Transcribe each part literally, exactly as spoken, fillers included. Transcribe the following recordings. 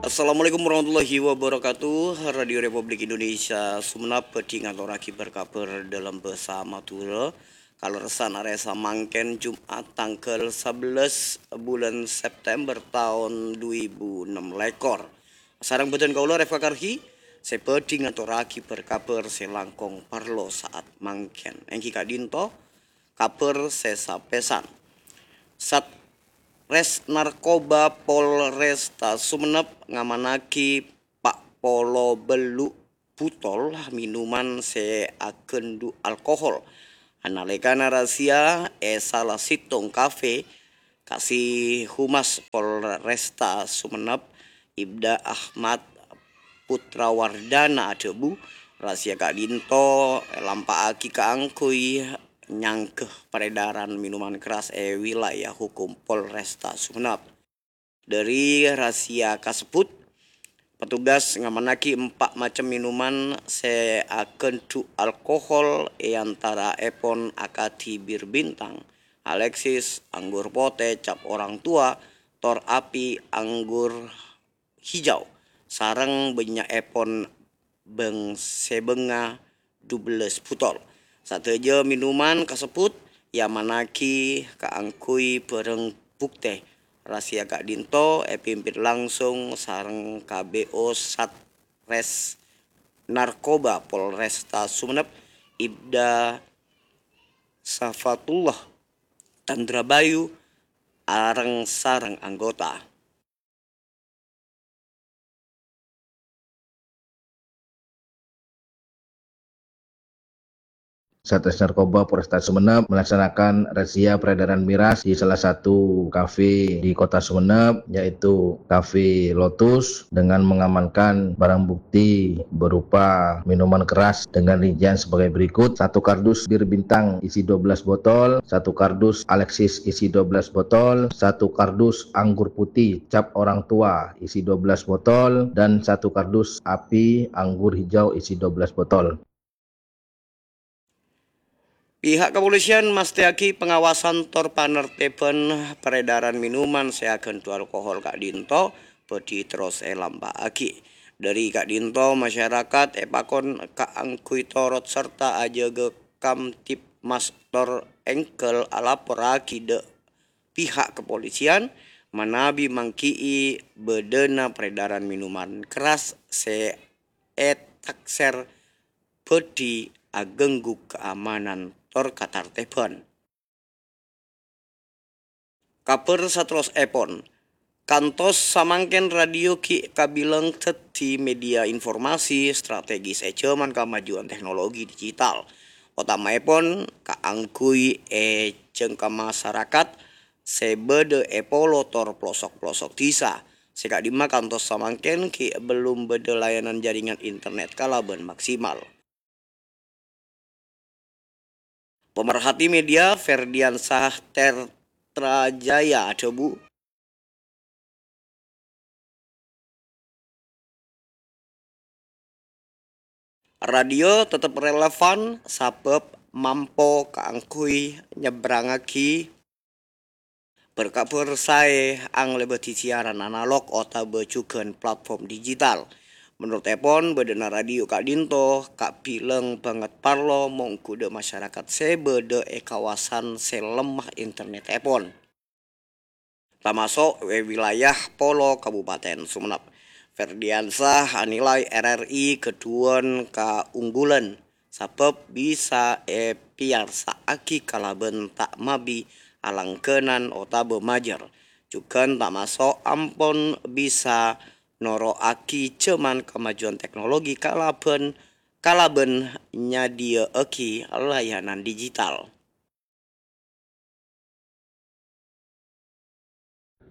Assalamualaikum warahmatullahi wabarakatuh. Radio Republik Indonesia Sumenep bhâdhi ngatorraghi bâr-kabhâr dâlem bhâsa Madhurâ. Kalerressan arè samangkèn, Jum'at tangghâl sabellâs bulân September taon du èbu ennem lèkor. Sareng bhâdhân kaulâ, Refa Karhi, sè bhâdhi ngatorraghi bâr-kabhâr sè langkong parlo sa'at mangkèn. Èngghi ka'dinto kabhâr sè sapèsan. Satres Narkoba Polresta Sumenep ngamannaghi pa' polo bellu' butol minuman sè aghândhu' alkohol. Nalèkana razia è sala sèttong kafè, Kasi Humas Polresta Sumenep, Ibda Ahmad Putrawardana adhâbu, razia ka'dinto èlampa'aghi kaangghuy nyangghâ peredaran minuman keras è wilayah hukum Polresta Sumenep. Dhâri razia kasebbhut, petugas ngamannaghi empa' macem minuman sè aghândhu' alkohol, è antaraèpon akadhi Bir Bintang, Alexis, anggur potè cap orang tua, tor api anggur hijau, sareng bânnya'èpon bâng-sèbângnga dubellâs butol. Sadhâjâ minuman kasebbhut èamannaghi kaangghuy bhârâng buktè. Razia ka'dinto èpimpin langsung sareng K B O Satres Narkoba Polresta Sumenep, Ibda Safatullah Tandrabayu, areng-sareng anggota. Satres Narkoba Polresta Sumenep melaksanakan razia peredaran miras di salah satu kafe di Kota Sumenep, yaitu Kafe Lotus, dengan mengamankan barang bukti berupa minuman keras dengan rincian sebagai berikut: satu kardus Bir Bintang isi dua belas botol, satu kardus Alexis isi dua belas botol, satu kardus anggur putih cap orang tua isi dua belas botol, dan satu kardus Api anggur hijau isi dua belas botol. Pihak kepolisian mastèyaghi pengawasan tor panertiban peredaran minuman sè aghândhu' alkohol ka'dinto bhâdhi terros èlampa'aghi. Dhâri ka'dinto, masyarakat èpakon kaangghuy torot sarta ajâgâ Kamtibmas tor èngghâl alaporraghi dâ' pihak kepolisian manabi manggi'i bâdâna peredaran minuman keras sè ètaksèr bhâdhi aghânggu kaamanan tor katartèbhân. Kabhâr saterrossèpon, kantos samangkèn radio ghi' kabilang dhâddhi media informasi strategis è jhâman kamajuwân teknologi digital, otamaèpon kaangghuy è jhângka masarakat sè bâdâ è polo tor pelosok-pelosok dhisa, sè ka'dimma kantos samangkèn ghi' bellum bâdâ layanan jaringan internet kalabân maksimal. Pemerhati media Ferdiansyah Tertrajaya adhâbu, radio tetep relevan sabâb mampo kaangghuy nyebbrangngaghi bâr-kabhâr saè anglèbâdhi siaran analog otabâ jhughân platform digital. Menurutèpon, bâdâna radio ka'dinto kabilang bângèt parlo mongghu dâ' masyarakat sè bâdâ è kawasan sè lemma internetèpon, tamaso' è wilayah polo Kabupaten Sumenep. Ferdiansyah anilai R R I ghâdhuwân kaunggulan sabâb bisa èpiyarsa'aghi kalabân ta' mabi alangghânan otabâ majâr. Jhughân tamaso' ampon bisa noro'aghi jhâman kamajuwân teknologi kalabân, kalabân nyadhiyâ'aghi layanan digital.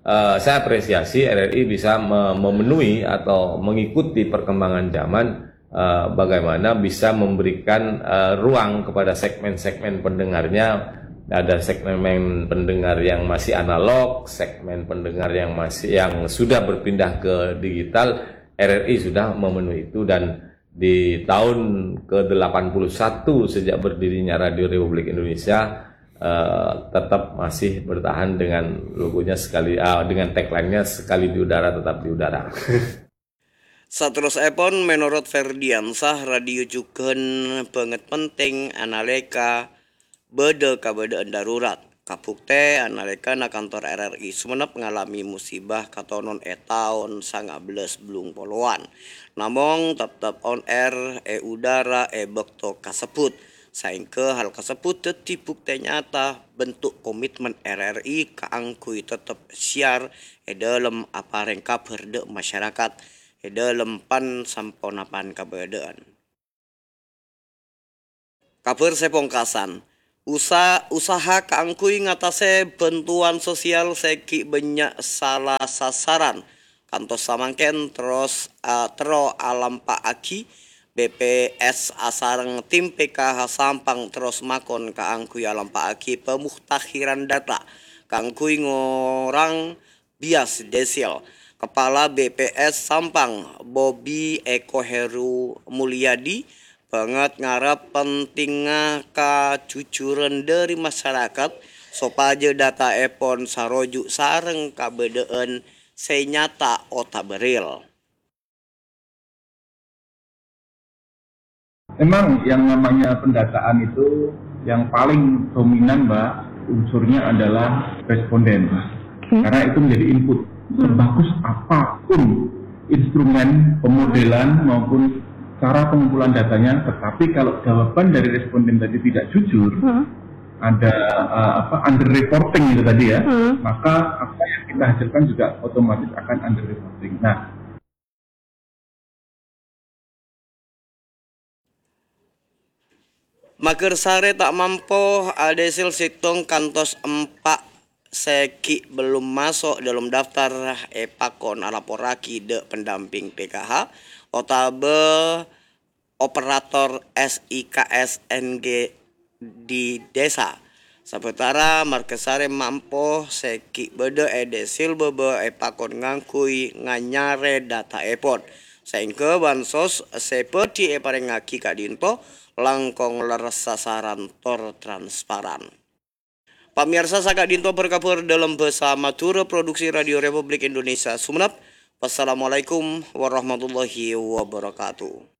Eh, saya apresiasi R R I bisa me-, memenuhi atau mengikuti perkembangan zaman, eh, bagaimana bisa memberikan, eh, ruang kepada segmen-segmen pendengarnya. Ada segmen pendengar yang masih analog, segmen pendengar yang masih, yang sudah berpindah ke digital, R R I sudah memenuhi itu dan di tahun ke delapan puluh satu sejak berdirinya Radio Republik Indonesia, eh, tetap masih bertahan dengan logonya sekali, ah, dengan tagline-nya "Sekali di udara, tetap di udara". Saterrossèpon, mènorot Ferdiansah, radio jhughân bângèt penting analèka bâdâ kabâdâ'ân darurat. Kabhuktè analèkana kantor R R I Sumenep ngalamè musibah katonon è taon sanga bellâs bâllung polowan. Namong teptep on air è udara è bâkto kasebbhut. Saèngghâ hal kasebbhut dhâddhi buktè nyata bentuk komitmen R R I kaangghuy teptep siar è dâlem aparèng kabhâr dâ' masyarakat è dâlem pan-samponapan kabâdâ'ân. Kabhâr sè pongkasan, usa-, usaha kaangghuy ngatasè bhântowan sosial sè ghi' bânnya' sala sasaran. Kantos samangkèn terros, a-, terro alampa'aghi, B P S asareng tim P K H Sampang terros makon kaangghuy alampa'aghi pemutakhiran data kaangghuy ngorang bias desil. Kepala B P S Sampang, Bobi Eko Heru Mulyadi, bângèt ngarep pentingnga kajujuran dâri masyarakat sopajâ dataèpon saroju' sareng kabâdâ'ân sè nyata otabâ real. Memang yang namanya pendataan itu yang paling dominan, Mbak, unsurnya adalah responden. Oke. Karena itu menjadi input. Hmm. Sebagus apapun instrumen pemodelan maupun cara pengumpulan datanya, tetapi kalau jawaban dari responden tadi tidak jujur, Hmm. ada, eh, apa, under reporting itu tadi ya, Hmm. maka apa yang kita hasilkan juga otomatis akan under reporting. Nah, Magersare ta' mampo adesil settong kantos empa' se gi' bellum maso' dâlem daftar epakon alaporragi dâ' pendamping P K H otabâ operator S I K S N G di desa. Sabâtara Margasare mampo se gi' bâdâ e desil bâbâ epakon ngangghuy nganyare dataepon, saengga bansos se bhâdhi eparengngagi ka'dinto langkong lerres sasaran tor transparan. Pamiyarsa, saka'dinto berkabar dâlem bhâsa Madhurâ, produksi Radio Republik Indonesia Sumenep. Wassalamualaikum warahmatullahi wabarakatuh.